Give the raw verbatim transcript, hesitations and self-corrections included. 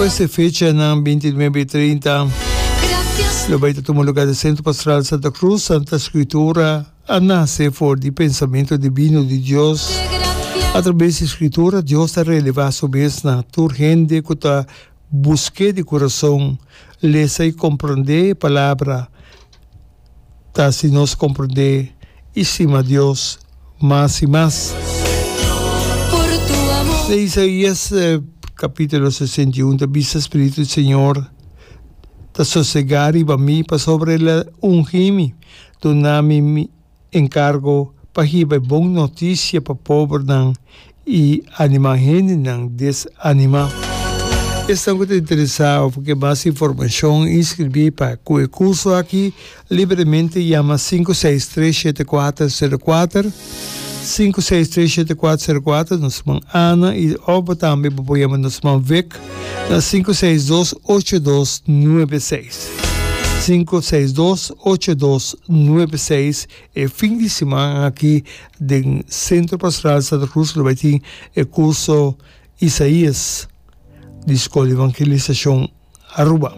Pues e fechanan binti nuebe i trinta lo bai ta tuma lugar den Centro Pastoral Santa Cruz. Santa Scritura a nace for di pensamento divino di Dios. A traves di Scritura Dios ta releva su mes na tur hende cu ta busk'é di curason. Lesa i comprende e Palabra ta hasi nos comprende i stima Dios mas i mas. Den Isaías capítulo sesenta i un ta bisa, Spiritu di Señor ta sosegá riba mi, pasobra El a ungi mi, duna mi mi enkargo pa hiba e bon notisia pa pobernan i animá hendenan desanimá. Esnan ku ta interesá òf ke mas informashon, inskribí pa ku e kurso aki libremente yama sinku seis tres shete kuater sero kuater, sinku seis tres shete kuater sero kuater, nos man Ana i òf bo tambe bo por yama nos man Vic na sinku seis dos ocho dos nuebe seis, sinku seis dos ocho dos nuebe seis. E fin di siman aki den Centro Pastoral Santa Cruz lo bai tin e curso Isaías di Scol Evangelisacion Aruba.